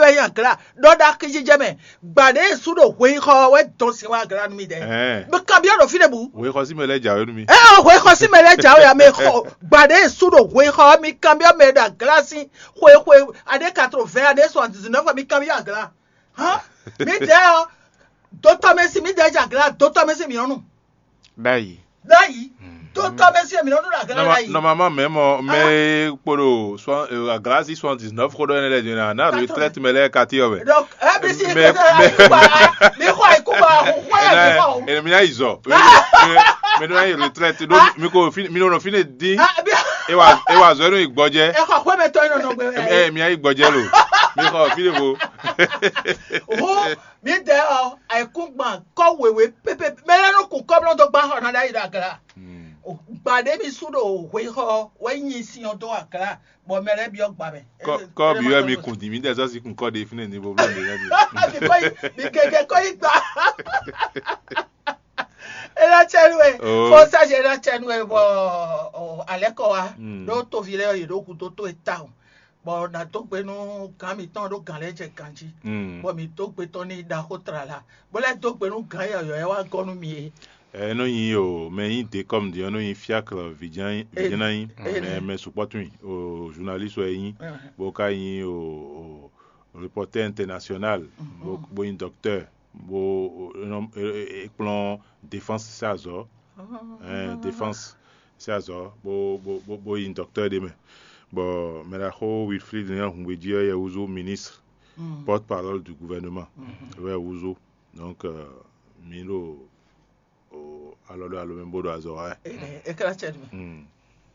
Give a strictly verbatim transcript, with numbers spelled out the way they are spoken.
Ɛ nyi agla ɖɔ ɖo axijijɛ mɛ. Gbaɖé e sú ɖo hweyixɔ ɔ́ wɛ dɔn sin wá agla nú mi dɛ. Ɛɛ. Mi kanbyɔ́ ɖo fínɛ́ bǔ. Hweyixɔ sín mɛ lɛ́ɛ jǎwe nú mi. Ɛ ɔ, hweyixɔ sín mɛ lɛ́ɛ jǎwe ǎ, mɛ xɔ gbaɖé e sú ɖo hweyixɔ ɔ́, mi kanbyɔ́ mɛ e ɖo agla sín xwe xwe aɖé quatre-vingts aɖé soixante-dix-neuf ɔ́, mi kanbyɔ́ agla. Hán, mi dɛ ɔ, dotɔmɛsi mi dɛ jɛ agla, dotɔmɛsi mi ɔnu. Ɖ'ayǐ. Ɖ'ayǐ. Dotɔmɛsi mi nɔ ɖo agla ɖ'ayǐ. Normalement, même mɛ e kpo ɖo aglasi soixante-dix-neuf xó ɖɔ énɛ́ lɛ́ɛ din ná retraite mɛ lɛ́ɛ kati ɔ́ mɛ. Donc, ɛ bi si mi xɔ ayikuba, mi xɔ ayikuba, xɔ ya mi xɔ. Ene mi ná yi zɔ. Mi nɔ yi retraite ɖo mi ko mi nɔ fine dín. E wa e wa zɔ nɔ yi gbɔjɛ. E xɔ xwé mɛ tɔ yi nɔ nɔ gbɛ. E mi ná yi gbɔjɛ lo. Mi xɔ fi ɖe vo. Hu mi dɛ ɔ ayikúngban kɔ wěwé pépé mɛ lɛ nɔ kun kɔblɔn dó gbá xɔ na ɖ'ayǐ ɖo agla. Gba ɖé mi sú ɖo hwexɔ wɛ nyi sin ɔ dó agla bɔ mɛ lɛ byɔ́ gba mɛ. Kɔ bi wɛ mi kun di mi dɛ sɔsi kun kɔ de fínɛ ní bo bló mi lɛ mi. Mi kɔ yi mi gɛgɛ kɔ yi gba. Ena tsɛnu e fɔnsaji ena tsɛnu e bɔ alɛ kɔ wa ɖo tovi lɛ yě ɖo hudó tó e tawun. Bɔ nǎ dó gbe nú gǎn mǐtɔn ɖó gǎn lɛ́ɛ jɛ ganjí, bɔ mǐ dó gbe tɔn n'i ɖaxó tlala, bó lɛ́ dó gbe nú gǎn yɔ̌yɔ́ e wá gɔ́ nú mì é. Ɛ nɔ nyi o mɛ nyi de kɔm di ɔ́ nɔ nyi fiakl vijɛnanyi mɛ mɛ sukpɔ́ tun o journaliste wɛ nyi bó ka nyi o reporter international bó nyi docteur bó e kplɔ́n défense sɛ azɔ̌. Défense sɛ azɔ̌ bó bó yi docteur ɖé mɛ. Bɔ mɛ ɖaxó Wilfried Léon Hungbeji ɔ́ yɛ wúzú ministre porte parole du gouvernement wɛ wúzú. Donc mǐ ɖo alɔ ɖo alo mɛ bó ɖo azɔ̌ wa wɛ. Ekla cɛ nú mɛ.